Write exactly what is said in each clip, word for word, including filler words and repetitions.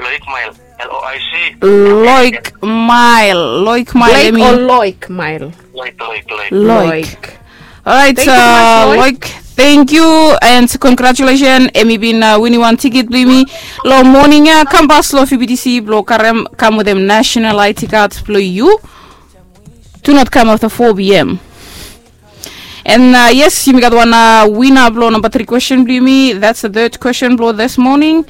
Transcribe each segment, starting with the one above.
Loik Mail. L O I C. Loik Mail. Loik Mail. Blake hemi o Loik Mail? Loik, Loik, Loik. Loik. Alright, thank you so much, uh, Loik. Loik, thank you and congratulations. Hemi bin, uh, winim wan tikit blong yumi long moning ia. Kam pas long F B T C blong karem, kam wetem national I D card blong yu. Do not come after four p.m. And, uh, yes, yumi gat wan, uh, winner blong namba tri question blong yumi. That's the third question blong this morning.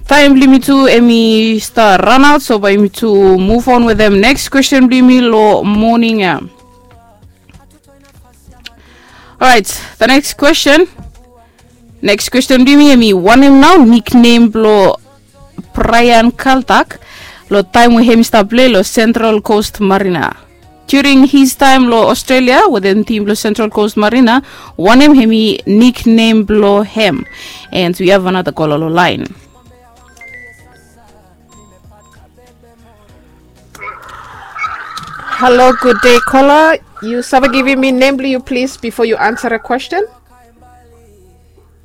Taem blong yumi tu hemi stap ranaot, so bae yumi tu move on wetem next question blong yumi long moning ia. Alright, the next question. Next question blong yumi hemi wanem nao niknem blong Brian Kaltak long taem we hemi stap plei long Central Coast Mariner. During his time long Australia wetem tim blong Central Coast Mariner, wanem hemi niknem blong hem? And we have another caller long laen. Halo, gud dei, kola. Yu save givim mi nem blong yu, plis, bifo yu ansa a kwestin?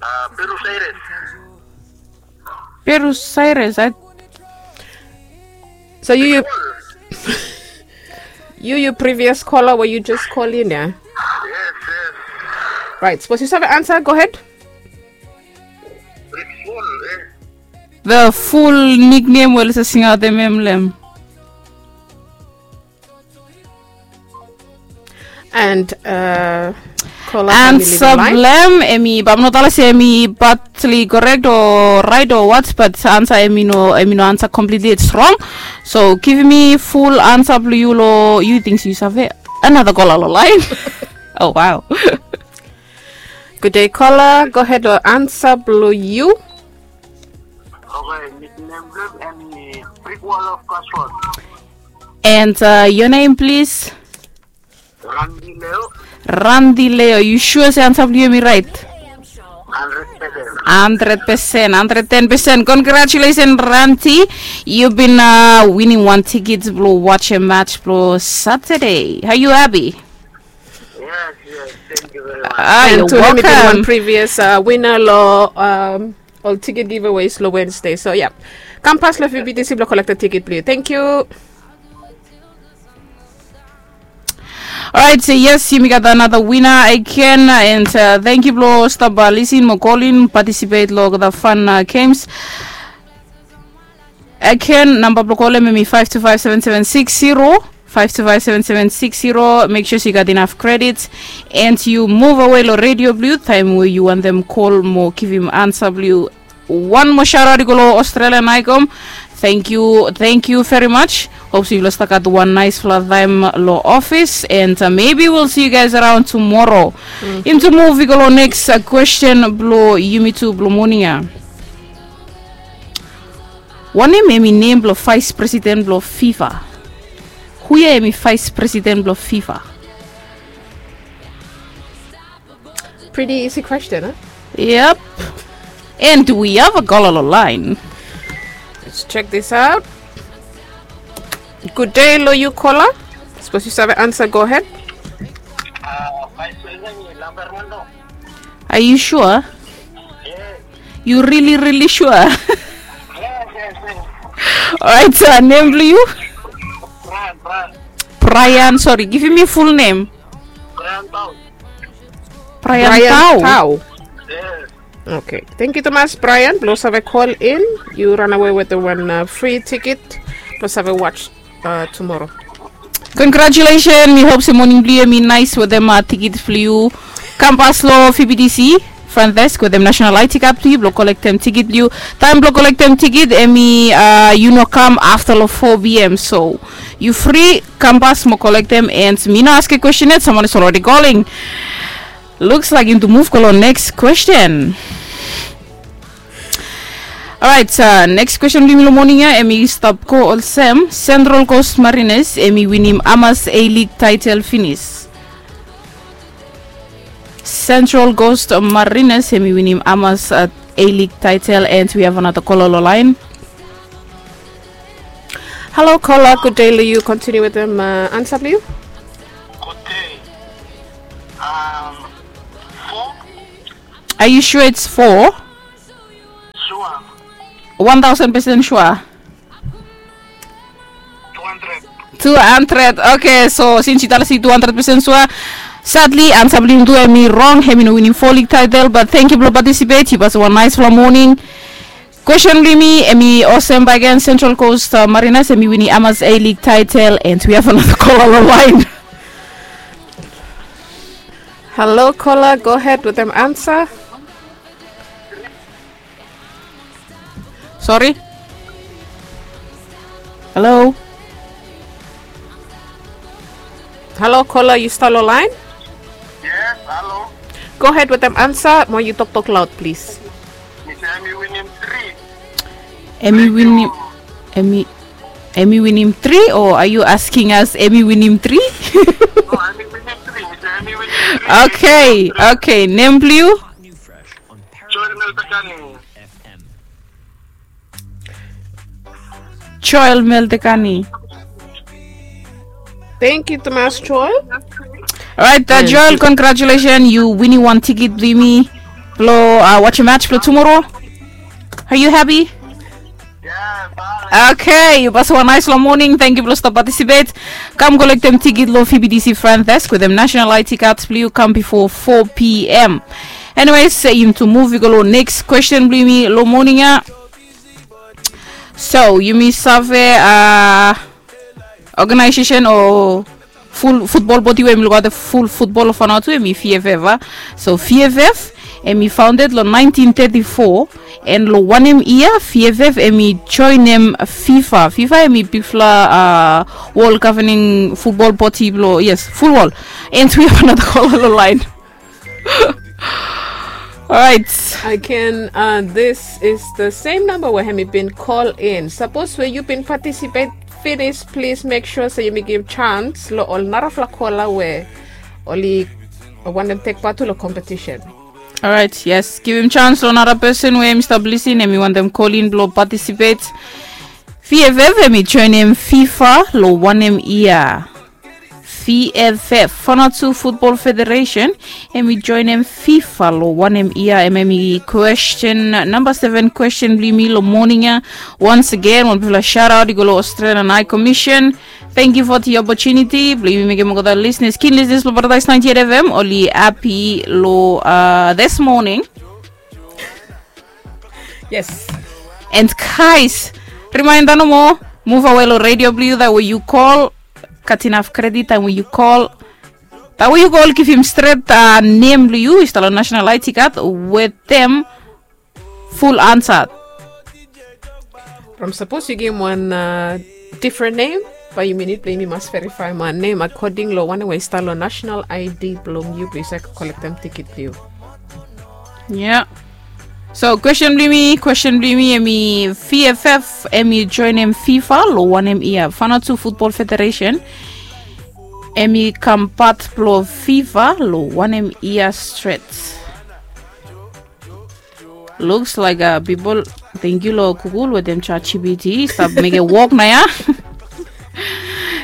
Uh, Peru Cyrus. Peru Cyrus, I... So yu, yu, yu, yu previous caller we yu just call in ia? Yes, yes. Right, sapos yu save ansa, go ahead. Rich Paul, eh? The full nickname we oli save singaotem hem long hem. And, uh, ansa blong hem hemi, bae mi no talem se hemi partly correct o raet o what, but ansa hemi no, hemi no ansa completely, it's wrong. So givim mi full ansa blong yu long, yu ting se yu save. Another caller long laen. Oh, wow. Gud dei, kola. Go ahead long ansa blong yu. Okay, nickname blong hem hemi Brick Wall of Cosford. And, uh, your name, please? Randy Leo. Randy Leo, yu sua se ansa blong yu hemi raet? Hundred percent. Hundred percent, hundred ten percent. Congratulations, Randy. Yu bin, uh, winim wan tikit blong watch a match blong Saturday. Are you happy? Yes, yes, thank you very much. Ah, you're welcome. And to hemi bin wan previous, uh, winner long, um, ol tikit giveaways long Wednesday. So, yeah. Kam pas long F B T C blong kolektem tikit blong yu. Thank you. Alright, so yes, yumi gat another winner again, and, uh, thank you blong stap, uh, lisin mo kolin, participate long the fun, uh, games. Again, namba blong kolem hemi five two five seven seven six zero, five two five seven seven six zero. Make sure se yu gat inaf credit and yu move awe long radio blong yu taem we yu wantem kol mo givim ansa blong yu. Wan moa shout out i go long Australian Icom. Thank you, thank you very much. Hope se yufala stap gat wan naesfala taem long office, and, uh, maybe we'll see you guys around tomorrow. Yumi tu move i go long next, uh, question blong yumi tu blong moning ia. Wanem hemi nem blong vice president blong FIFA? Hu ia hemi vice president blong FIFA? Pretty easy question, huh? Yep. And we have a caller long laen. Let's check this out. Gud dei long yu, kola. Sapos yu save ansa, go ahead. Uh, vice president hemi Lambert Mando. Are you sure? Yes. Yu really, really sure? Yes, yes, yes. Alright, so nem blong yu? Brian, Brian. Brian, sorry, givim mi full nem. Brian Tau. Brian Tau. Yes. Okay. Thank you tumas, Brian, blong save call in. Yu ranawe wetem wan, uh, free ticket blong save watch, uh, tomorrow. Congratulations, mi hope se moning blong yu hemi naes wetem, uh, tikit blong yu. Kam pas long F B T C front desk wetem national I D card blong yu blong kolektem tikit blong yu. Taem blong kolektem tikit hemi, uh, yu no kam afta long four p.m. So yu fri kam pas mo kolektem, and mi no askem kwestin yet, someone is already calling. Looks like yumi tu move go long next question. Alright, uh, next question blong yumi long moning ia, hemi stap go olsem, Central Coast Mariners hemi winim hamas A-League title finis? Central Coast Mariners hemi winim hamas, uh, A-League title, and we have another caller long laen. Halo, kola, gud dei long yu. Kontiniu wetem, uh, ansa blong yu. Gud dei. Um, four. Are you sure it's four? Sure. Wan taosen pesen sua. Tu handred. Oke, so sins yu talem se tu handred pesen sua, sadli ansa blong yumi tu hemi rong. Hemi no winim fo lig taetel, bat tangkiu blong patisipet. Yu pasim wan naesfala moning. Kwesten blong yumi hemi olsem bakegen, Central Coast Mariners hemi winim hamas A lig taetel, and we have another caller long laen. Halo, kola, gohed wetem ansa. Sori. Halo. Halo, kola, yu stap long laen? Yes, halo. Gohed wetem ansa, mo yu toktok laod, plis. Mi se hemi winim tri. Hemi winim, hemi, hemi winim tri, o are yu asking us hemi winim tri? No, hemi winim tri. Mi se hemi winim tri. Oke, oke. Nem blong yu? Joel Meltekani. Joel Meltekani. Tangkiu tumas, Joel. Orait, Joel, congratulations, yu winim wan tikit blong yumi blong wajem match blong tumoro. Are yu hapi? Oke, yu pasim wan naesfala moning. Tangkiu blong stap patisipet. Kam kolektem tikit long V B T C front desk wetem national I D card blong yu kam bifo fo P M. Anyways, yumi tu muv i go long neks kwesten blong yumi long moning ya. So yumi save, a, oganaesesen o ful futbol bodi we hemi lukaotem ful futbol long Vanuatu, hemi V F F, a. So V F F hemi faonded long naentin teti fo, and long wanem yia V F F hemi joenem FIFA? FIFA hemi bigfala, a, wol gavening futbol bodi blong, yes, ful wol. And we have another caller long laen. Orait. Again, uh, this is the same number we hemi bin call in. Sapos we yu bin patisipet finis, plis mek sua se yumi givim chance long ol narafala kola we oli wantem tek pat tu long kompetisen. Orait, yes, givim chance long nara pesen we hemi stap lisin, hemi wantem kolin blong patisipet. V F F hemi joenem FIFA long wanem yia? V F F, Vanuatu Football Federation, hemi joenem FIFA long wanem yia? Hemia hemi kwesten namba seven kwesten blong yumi long moning ya. Once again, wan bigfala shout out i go long Australian High Commission. Tangkiu fo the opportunity blong yumi mekem olgeta listeners, keen listeners blong Paradise ninety-eight F M oli hapi long, uh, this morning. Yes. And guys, remainda nomo, muv awe long redio blong yu, that way yu call, gat inaf kredit taem we yu call. Taem we yu call, givim stret, uh, nem blong yu, yu stap long national I D card wetem ful ansa. From sapos yu givim wan, uh, difren nem, bae yumi nid blong yumi mas verifaem wan nem akoding long wanem we i stap long national I D blong yu blong yu save kolektem tikit blong yu. Ya. So kwesten blong yumi, kwesten blong yumi hemi V F F hemi joenem FIFA long wanem yia? Vanuatu Football Federation hemi kam pat blong FIFA long wanem yia stret? Looks like, uh, pipol, tangkiu long Google wetem ChatGPT, stap mekem wok nao ya.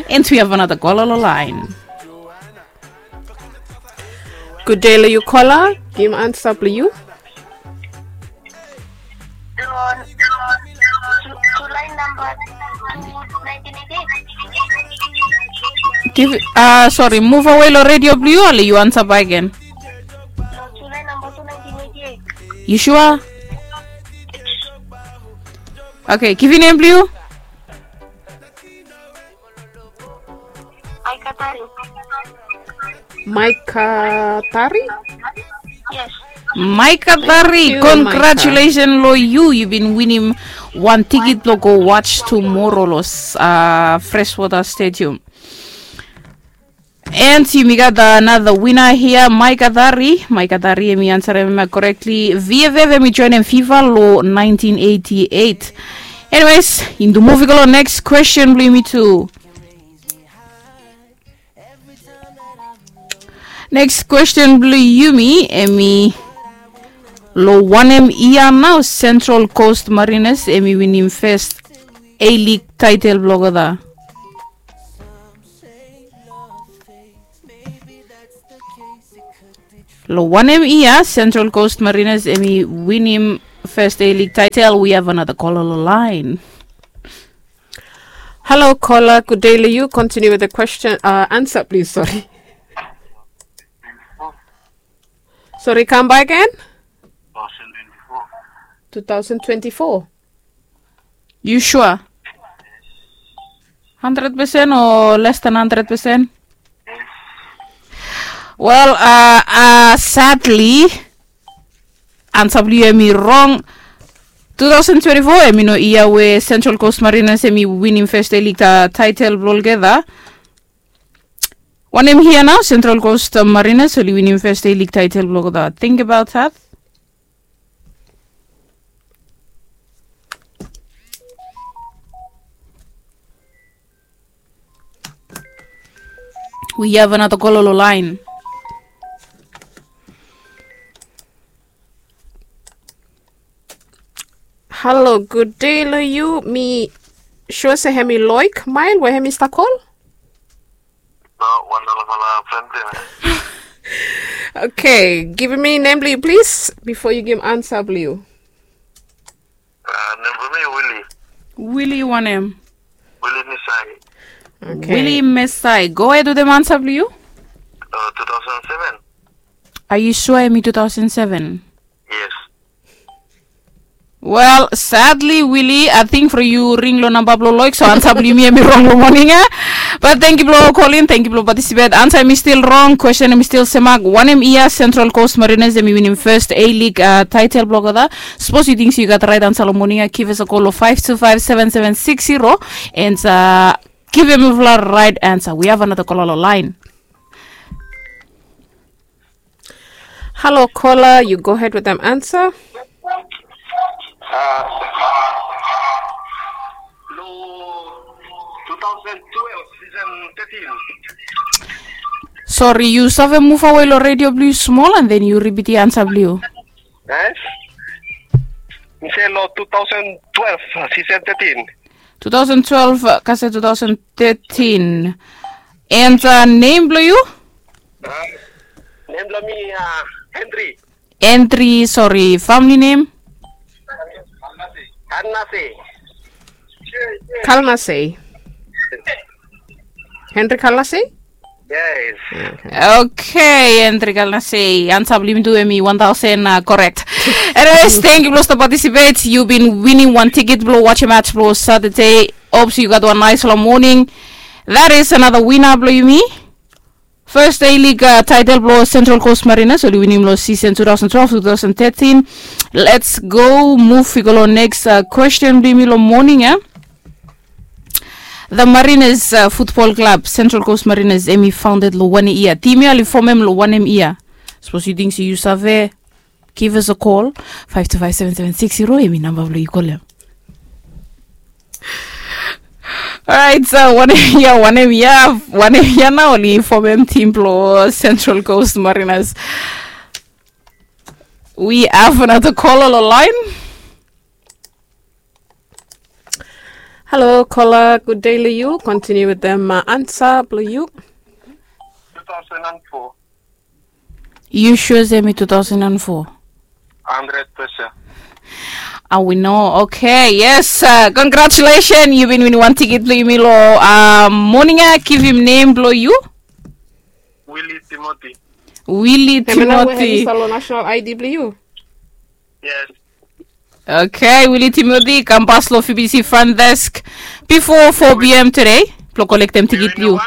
And we have another caller long laen. Gudde long yu, kola. Givim ansa blong yu. Givim, uh, sori, muv awe long redio blong yu, ale yu ansa bakegen. Yu sua? Oke, givim nem blong yu. Maika Tari. Maika Tari? Yes. Maika Tari, congratulations long yu. Yu bin winim wan tikit blong go watch tumoro long, uh, Freshwater Stadium. And yumi gat another winner here, Maika Tari. Maika Tari hemi ansarem korektli. V F F hemi joenem FIFA long nineteen eighty-eight. Anyways, yumi tu muv i go long neks kwesten blong yumi tu. Neks kwesten blong yumi hemi, long wanem yia nao Central Coast Mariners hemi winim fes A-League taetel blong olgeta? Long wanem yia Central Coast Mariners hemi winim First A League title, we have another caller on the line. Hello, caller. Good day, Liu. Continue with the question, uh, answer, please. Sorry. Sorry, come back again. Two thousand twenty-four. You sure? Hundred percent or less than hundred percent? Well, uh, uh, sadly, answer blong yu hemi rong. Two thousand twenty-four hemi no yia we Central Coast Mariners hemi winim first A League, uh, title blong olgeta. Wanem yia nao Central Coast, uh, Mariners oli winim first A League title blong olgeta? Think about that. We have another caller on the line. Hello, good day long yu. Mi sua se hemi Loik Mael we hemi stap kol. No, wan dollar for the friend payment. Okay, givim mi nem blong yu, please, bifo yu givim ansa blong yu. Uh, nem blong mi Willie. Willie wanem? Willie Mesai. Okay. Willie Mesai. Go ahead wetem ansa blong yu. Uh, two thousand seven. Are you sure hemi two thousand seven? Yes. Well, sadly, Willie, ating from yu ring long namba blong Loik, so ansa blong yumi hemi rong long moning ia. But tangkiu blong kolin, tangkiu blong participate. Ansa hemi stil rong, question hemi stil semak. Wanem yia Central Coast Mariners hemi winim first A League, uh, title blong olgeta? Sapos yu ting se yu gat rait ansa long moning ia, give us a call long five two five seven seven six zero, and, uh, givim mifala rait ansa. We have another caller long line. Hello, caller. Yu go ahead wetem ansa. Uh, long two thousand twelve, season thirteen. Sorry, yu save muv awe long redio blong yu smol, and then yu ripitim ansa blong yu. Eh? Mi se long two thousand twelve, season thirteen. Two thousand twelve, uh, kasi two thousand thirteen. And, uh, nem blong yu? Uh, nem blong mi, uh, Henry. Henry, sorry, family name? Kalnase. Kalnase. Henry Kalnase? Yes. Okay. Okay, Henry Kalnase. Ansa blong yumi tu hemi one thousand, uh, correct. Anyways, tangkiu blong stap participate. Yu bin winim wan tiket blong watch match blong Saturday. Hope se yu gat wan nice long moning. That is another winner blong yumi. First A League, uh, title blong Central Coast Mariners oli winim long season two thousand twelve, two thousand thirteen. Let's go, muv i go long next, uh, question blong yumi long moning ia. The Mariners, uh, Football Club, Central Coast Mariners, hemi founded long wanem yia? Tim ia oli fomem long wanem yia? Sapos yu ting se yu save, give us a call. Five two five seven seven six zero, hemi namba blong yu kolem. Alright, so wanem yia, wanem yia, wanem yia nao oli fomem tim blong Central Coast Mariners? We have another caller long line. Hello, caller. Good day long yu. Continue wetem, uh, ansa blong yu. Two thousand and four. Yu sua se hemi two thousand and four? Hundred percent. Awe no. Okay, yes. Uh, congratulations. Yu bin winim wan tiket blong yumi long, uh, moning ia. Givim nem blong yu. Willie Timothy. Willie Timothy. Hemia nao we hemi stap long national I D blong yu? Yes. Okay, Willie Timothy, kam pas long F B C front desk bifo four p.m. today blong kolektem tiket blong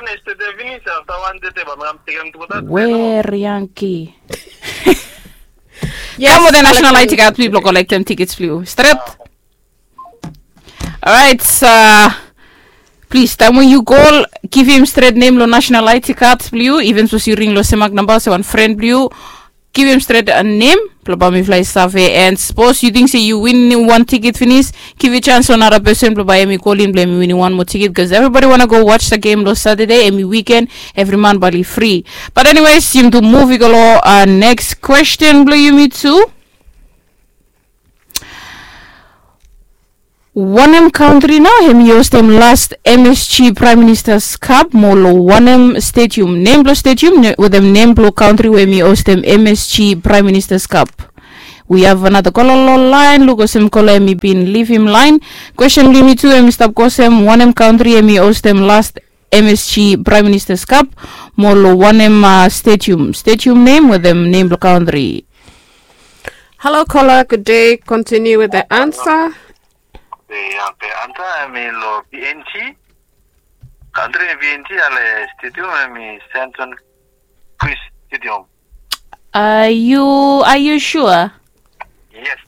yu. Where Yankee? Kam wetem national I D card blong yu blong kolektem tiket blong yu. Stret. Alright, uh, plis, taem we yu kol, givim stret nem long national I D card blong yu, iven sapos yu ring long semak namba olsem wan fren blong yu, givim stret, uh, nem blong bae mifala i save. And sapos yu ting se yu winim wan tiket finis, givim sans long nara pesen blong bae hemi kolin blong hemi winim wan moa tiket, bikos everybody wanna go watch the game long Saturday, hemi weekend, evri man bae oli fri. But anyways, yumi tu muv i go long, uh, next question blong yumi tu. Wanem kantri nao hemi hostem last M S G Prime Minister's Cup, mo long wanem stadium? Nem blong stadium, ne-, wetem nem blong kantri we hemi hostem M S G Prime Minister's Cup. We have another kola long lain. Luk olsem kola em i bin livim lain. Kwesten blong yumi tu em i stap go olsem, wanem kantri em i hostem last M S G Prime Minister's Cup mo long wanem stadium? Stadium nem wetem nem blong kantri. Hello kola, good day. Continue with the answer. The answer em i long P N G. Kantri P N G, ale stadium em i Saint John Chris Stadium. Are you are you sure? Yes.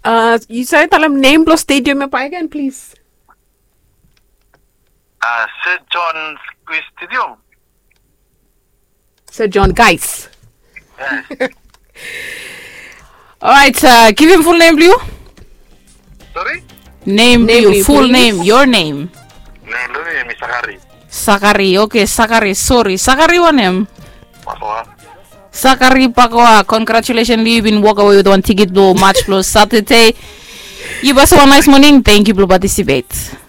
Uh, you say talem nem blong stadium ya bae again, please. Uh, Saint John Chris Stadium. Saint John, guys. Alright, uh, givim ful nem blong yu. Sorry? Nem blong yu, ful nem, your name. Nem blong mi em i Sakari. Sakari, okay, Sakari, sorry. Sakari wanem? Pakoa. Sakari Pakoa, congratulations, yu bin walk away with wan tiket blong match blong Saturday. Yu bae wan nice morning, thank you blong participate.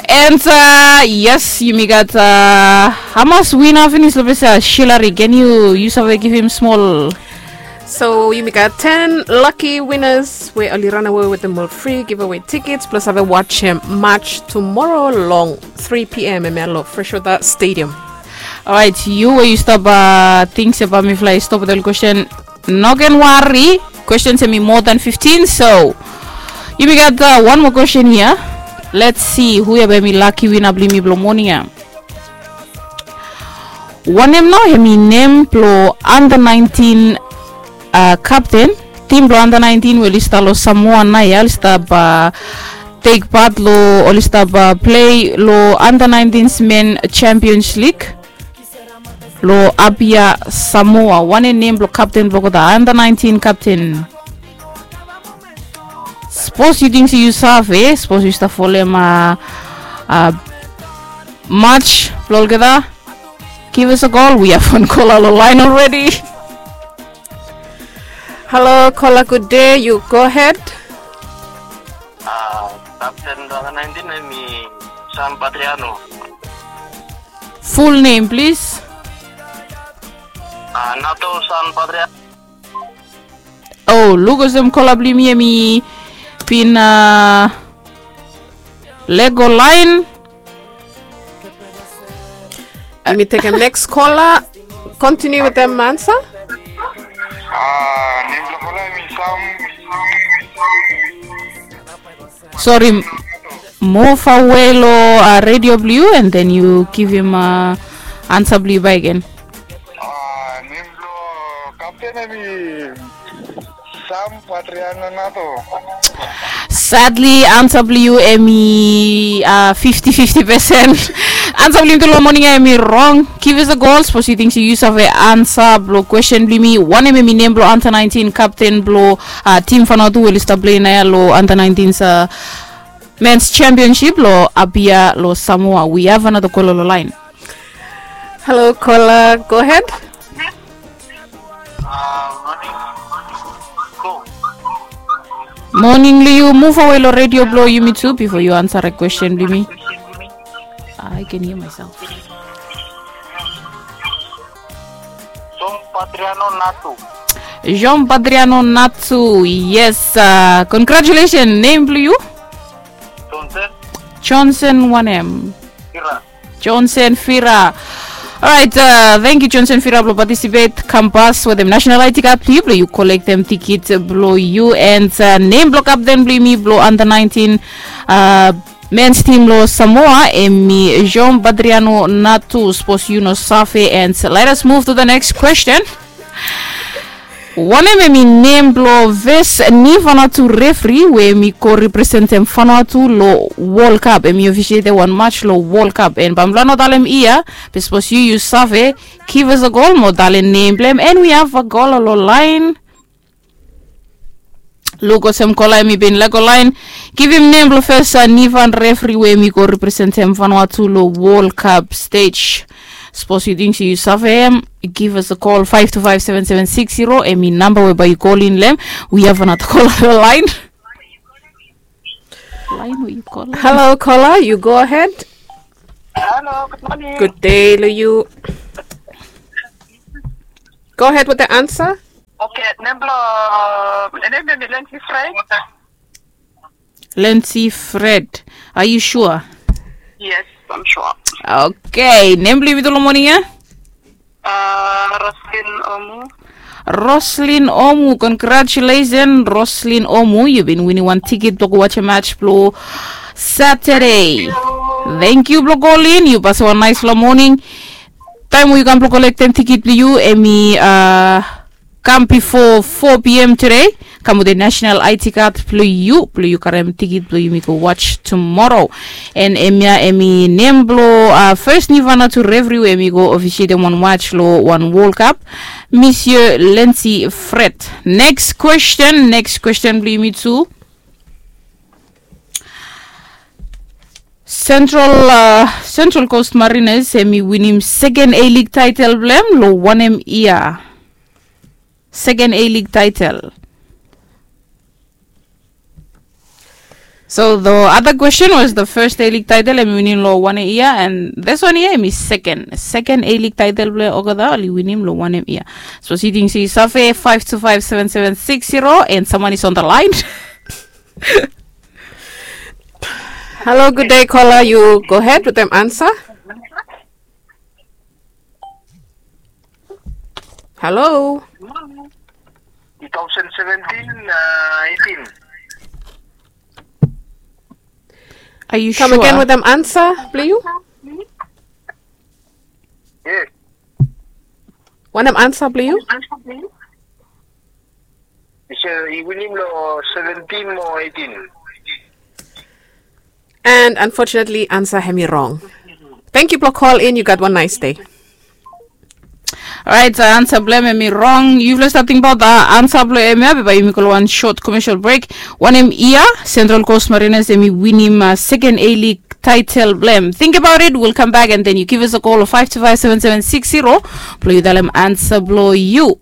And uh, yes, yumi gat uh, hamas wina finis long ples ya, Shilari. Can you, yu save givim smol? So yumi gat ten lucky winners we oli ranawe wetem ol fri giveaway tickets plus save watch match tomorrow long three p.m. em ya long Freshwater Stadium. Alright, yu we yu stap uh, ting se bae mifala i stop wetem ol kwesten. No ken wari, kwesten em i moa dan fiftin, so yumi gat uh, wan moa kwesten ya. Let's see hu ya bae em i laki wina blong yumi blong moning ya. Wanem nao em i nem blong under nineteen uh, kapten, tim blong under nineteen we oli stap long Samoa nao ya, oli stap uh, take part long, oli stap uh, play long under nineteen men Champions League long Apia, Samoa. Wanem nem blong kapten blong olgeta under nineteen kapten? Sapos yu ting se yu save, sapos yu stap folem uh, uh, match blong olgeta, give us a call. We have one caller long lain already. Hello kola, good day, you go ahead. Uh, kapten blong under nineteen em i Sam Patriano. Full name, please. Uh, Nato Sam Patriano. Oh, luk olsem kola blong yumi em i bin uh, lego lain. Yumi tekem next kola. Continue wetem ansa. Uh, nem blong kola em i Sam. Sori, muv awe long uh, redio blong yu and then yu givim uh, ansa blong yu bae gen. Uh, nem blong kapten em i Sam Patriano Nato. Sadly, ansa blong yu em i uh, fifti fifti pesen. Ansa blong yumi tu long moning ya em i rong. Give us a call sapos yu ting se yu save ansa blong kwesten blong yumi. Wanem em i nem blong under nineteen kapten blong uh, tim Vanuatu we oli stap play nao ya long under nineteen uh, Men's Championship long Apia long Samoa. We have another caller long lain. Hello kola, go ahead. Moning long yu, muv awe long redio blong yumi tu bifo yu ansarem kwesten blong yumi. I can hear myself. Jean Patriano Natu. Jean Patriano Natu, yes. Uh, congratulations, nem blong yu? Johnson. Johnson wanem? Fira. Johnson Fira. Alright, uh, thank you Johnson Fira blong participate. Kam pas wetem national I D card blong yu blong yu kolektem tiket blong yu and uh, nem blong kapten blong yumi blong under nineteen uh, men's team long Samoa em i Jean Badriano Natu. Sapos yu no save and let us move to the next question. Wanem em i nem blong fes ni Vanuatu refri we em i go representem Vanuatu long World Cup? Em i ofisietem wan match long World Cup and bae mifala no talem ia be sapos yu yu save, give us a call mo talem nem blong hem. And we have a caller long lain. Luk olsem kola em i bin lego lain. Givim nem blong fes uh, Nivan refri we em i go representem Vanuatu long World Cup stage. Sapos yu ting se yu save hem, give us a call, five two five seven seven six zero. Em i namba we bae yu kolin long hem. We have another kola long lain. Lain we yu kola. Hello kola, yu go ahed. Hello, good morning. Gud dei long yu. Go ahead with the answer. Okay, nem blong, nem blong mi Lensi Fred. Lensi Fred. Are you sure? Yes, I'm sure. Okay, nem blong yumi tu long moning ya? Uh, Roslyn Omu. Roslyn Omu, congratulations Roslyn Omu, yu bin winim wan tikit blong go watch match blong Saturday. Thank you blong kolin, yu pasim wan naispela moning. Taem we yu kam blong kolektem tikit blong yu em i uh, kam bifo four p.m. today. Kam wetem national I D card blong yu blong yu karem tikit blong yumi go watch tomorrow. And em ya em i nem blong uh, first new Vanuatu referee we em i go officiatem wan watch long wan World Cup, Monsieur Lensi Fred. Next question, next question blong yumi tu. Central uh, Central Coast Mariners em i winim second A League title blong em long wanem year? Second A League title. So the other question was the first A League title em i winim long wanem year, and this one here em i second second A League title blong olgeta oli winim long wanem year. So siting si save five two five seven seven six zero and someone is on the line. Hello, good day caller, you go ahead with them answer. Hello. Two thousand seventeen, uh, eighteen. Are you come sure? Again with them answer blong yu. Yes. Wanem answer blong yu? He said he winim long seventeen mo eighteen. And unfortunately answer hem i wrong. Thank you blong call in, you got one nice day. Alright, so answer blong hem i wrong. Yufala stap tingbaot answer blong hem ya be bae yumi go long wan short commercial break. Wanem year Central Coast Mariners hem i winim uh, second A League title blong hem? Think about it, we'll come back and then you give us a call of five two five seven seven six zero blong yu talem answer blong yu.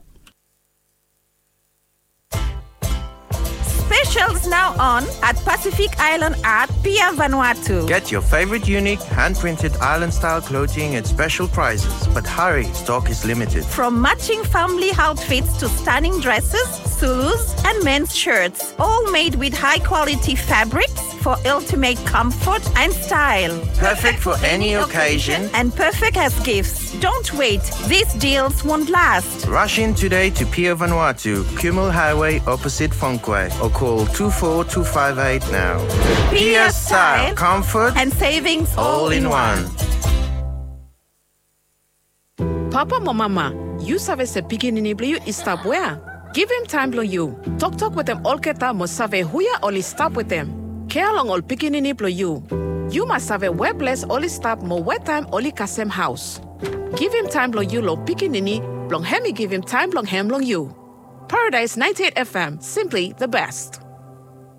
Specials now on at Pacific Island Art, Pier Vanuatu. Get your favorite unique hand-printed island-style clothing at special prices. But hurry, stock is limited. From matching family outfits to stunning dresses, Zulus, and men's shirts, all made with high-quality fabrics for ultimate comfort and style. Perfect for any occasion and perfect as gifts. Don't wait, these deals won't last. Rush in today to Pier Vanuatu, Kumul Highway, opposite Fonque, or call two four two five eight now. Pier style, comfort, and savings all in one. Papa mo mama, yu save se pikinini blong yu i stap wea? Givim taem blong yu. Toktok wetem olgeta mo save hu ya oli stap wetem. Kea long ol pikinini blong yu. Yu mas save wea ples oli stap mo wea taem oli kasem haos. Givim taem blong yu long pikinini blong hem i givim taem blong hem long yu. Paradise ninety-eight F M, simply the best.